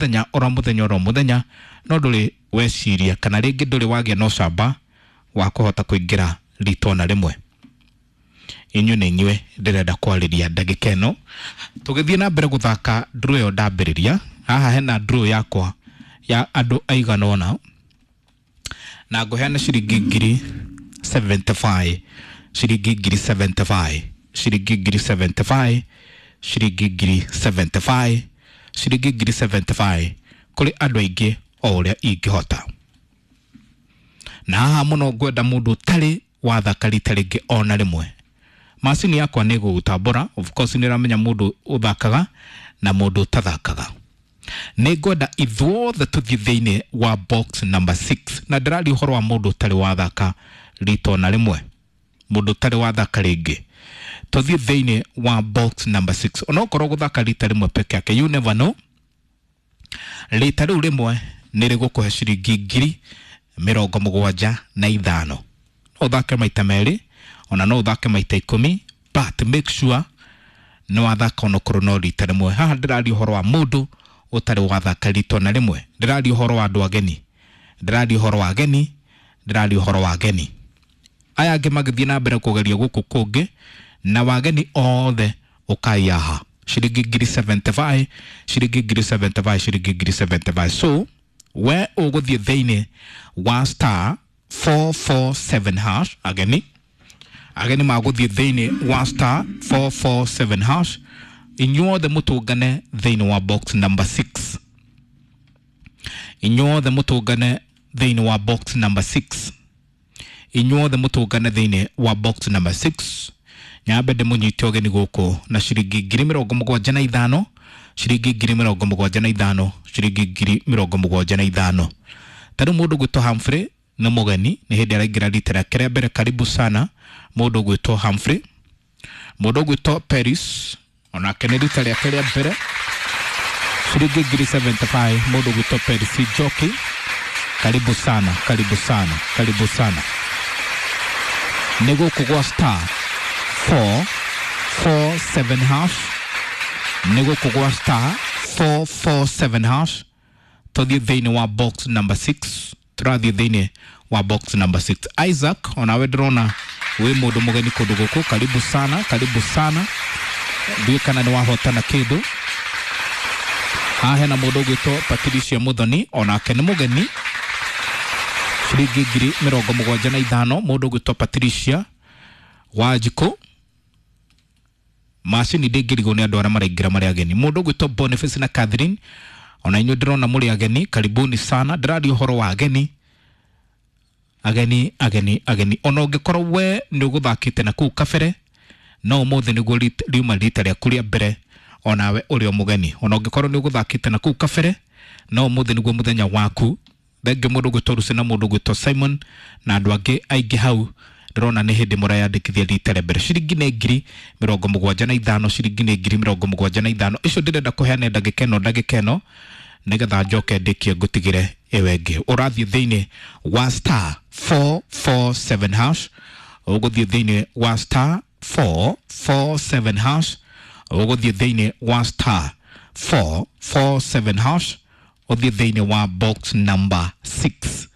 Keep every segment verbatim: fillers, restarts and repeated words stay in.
Mũthenya oro mũthenya oro mũthenya, no ndũrĩ weciria kana rĩngĩ ndũrĩ wagĩa na ũcamba wa kũhota kũingĩra rita ona rĩmwe. Inyuĩ nĩ inyuĩ ndĩrenda kwarĩria ndagĩka ĩno tũgĩthiĩ na mbere gũthaka draw ĩyo. Ndambĩrĩria haha, hena draw yakwa ya andũ aigana ũna na ngũheana ciringi ngiri mĩrongo mũgwanja, ciringi ngiri mĩrongo mũgwanja, ciringi ngiri mĩrongo mũgwanja, ciringi ngiri mĩrongo mũgwanja, ciringi ngiri mĩrongo mũgwanja kũrĩ andũ aingĩ o ũrĩa ingĩhota. Na haha mũno ngwenda mũndũ ũtarĩ wathaka rita rĩngĩ ona rĩmwe. Macini yakwa nĩ ĩgũgũtambũra, of course nĩ ĩramenya mũndũ ũthakaga na mũndũ ũtathakaga. Nĩ ngwenda ithuothe tũthiĩ thĩinĩ wa box number six, na ndĩraria ũhoro wa mũndũ ũtarĩ wathaka rita ona rĩmwe, mũndũ ũtarĩ wathaka rĩngĩ. Tũthiĩ thĩinĩ wa box number six. Onokorwo gũthaka rita rĩmwe peke yake, you never know, rita rĩu rĩmwe nĩ rĩgũkũhe ciringi ngiri mĩrongo mũgwanja na ithano. No ũthake maita merĩ, ona no ũthake maita ikũmi, but make sure nĩ wathaka onokorwo no rita rĩmwe. Haha ndĩraria ũhoro wa mũndũ ũtarĩ wathaka rita ona rĩmwe. Ndĩraria ũhoro wa andũ ageni, ndĩraria ũhoro wa ageni, ndĩraria ũhoro wa ageni. Aya angĩ magĩthiĩ na mbere kũgeria gũkũ kũngĩ, na wageni othe ũkai haha. Ciringi ngiri mĩrongo mũgwanja, ciringi ngiri mĩrongo mũgwanja, ciringi ngiri mĩrongo mũgwanja. So we ũgũthiĩ thĩinĩ wa star four four seven hash. Ageni, ageni magũthiĩ thĩinĩ wa star four four seven hash. Inyuothe mũtũngane thĩinĩ wa box number six. Inyuothe mũtũngane thĩinĩ wa box number six. Inyuothe mũtũngane thĩinĩ wa box number six. Nyambe ndĩmũnyite ũgeni gũkũ na ciringi ngiri mĩrongo mũgwanja na ithano, ciringi ngiri mĩrongo mũgwanja na ithano, ciringi ngiri mĩrongo mũgwanja na ithano. Ta rĩu mũndũ gwĩtwo Humphrey nĩ mũgeni, nĩ hĩndĩ araingĩra rita rĩake rĩa mbere. Karibu sana, mũndũ gwĩtwo Humphrey. Mũndũ gwĩtwo Paris onake nĩ rita rĩake rĩa mbere, ciringi ngiri mĩrongo mũgwanja. Mũndũ gwĩtwo Paris Njoki, karibu sana, karibu sana, karibu sana. Nĩ gũkũ gwa star four four seven hash, nĩ gũkũ gwa star four four seven hash. Tũthiĩ thĩinĩ wa box number six, tũrathiĩ thĩinĩ wa box number six. Isaac, onawe ndĩrona wĩ mũndũ mũgeni kũndũ gũkũ. Karibu sana, karibu sana. Ndiũĩ kana nĩ wahotana kĩndũ. Haha hena mũndũ ũgwĩtwo Patricia Muthoni, onake nĩ mũgeni, ciringi ngiri mĩrongo mũgwanja na ithano. Mũndũ ũgwĩtwo Patricia Wanjikũ. Macini ndĩngĩrigwo nĩ andũ arĩa maraingĩra marĩ ageni. Mũndũ ũgwĩtwo Boniface na Catherine, ona inyuĩ ndĩrona mũrĩ ageni, karibuni sana. Ndĩraria ũhoro wa ageni, ageni, ageni, ageni. Ona ũngĩkorwo we nĩ ũgũthakĩte na kũu kabere, no ũmũthĩ nĩguo riuma rita rĩaku rĩa mbere, onawe ũrĩ o mũgeni. Ona ũngĩkorwo nĩ ũgũthakĩte na kũu kabere, no ũmũthĩ nĩguo mũthenya waku. Thengiũ mũndũ ũgwĩtwo Lucy na mũndũ ũgwĩtwo Simon na andũ angĩ aingĩ hau ndĩrona nĩ hĩndĩ mũreyandĩkithia rita rĩa mbere. Ciringi nĩ ngiri mĩrongo mũgwanja na ithano, ciringi nĩ ngiri mĩrongo mũgwanja na ithano. Icio ndĩrenda kũheana ndagĩka ĩno, ndagĩka ĩno, nĩgetha njoke ndĩkie ngũtigĩre ĩyo ĩngĩ. Ũrathiĩ thĩinĩ wa star four four seven hash, ũgũthiĩ thĩinĩ wa star four four seven hash, ũgũthiĩ thĩinĩ wa star four four seven hash, ũthiĩ thĩinĩ wa box number six,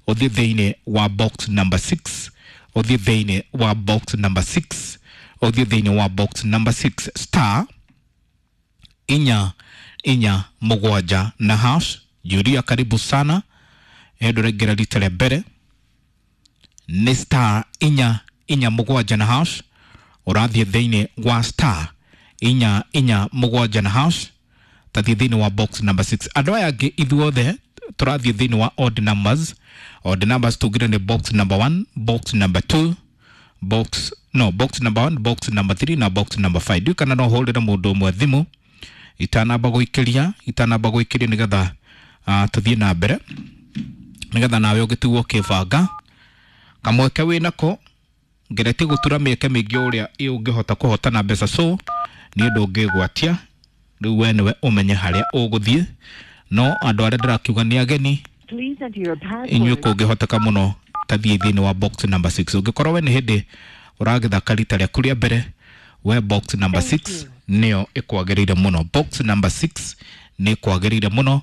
ũthiĩ thĩinĩ wa box number six, ũthiĩ thĩinĩ wa box number six, ũthiĩ thĩinĩ wa box number six, star inya inya mũgwanja na hash. Julia, karibu sana. Ĩndũ ũraingĩra rita rĩa mbere, nĩ star inya inya mũgwanja na hash. Ũrathiĩ thĩinĩ wa star inya inya mũgwanja na hash, tathiĩ thĩinĩ wa box number six. Andũ aya angĩ ithuothe tũrathiĩ thĩinĩ wa odd numbers. Odd numbers tugire nĩ box number one, box number two, box no box number one, box number three na box number five. Ndiũĩ kana no hũrĩre mũndũ ũmwe thimũ itanamba gũikĩria, itanamba gũikĩria, nĩgetha uh, tũthiĩ na mbere, nĩgetha nawe ũgĩtigwo ũkĩbanga kamweke wĩnako. Ngeretie gũtura mĩeke mĩingĩ ũrĩa ũngĩhota kũhotana mbeca, so niĩ ndũngĩgwatia. Rĩu we nĩwe ũmenye harĩa ũgũthiĩ, no andũ arĩa ndĩrakiuga nĩ ageni, Please enter your inyuĩ password. Kũngĩhoteka mũno tathiĩ thĩinĩ wa box number six. Ũngĩkorwo we nĩ hĩndĩ ũragĩthaka rita rĩaku rĩa mbere, we box number Thank six you. nĩyo ĩkwagĩrĩire mũno. Box number six Nĩ kwagĩrĩire mũno.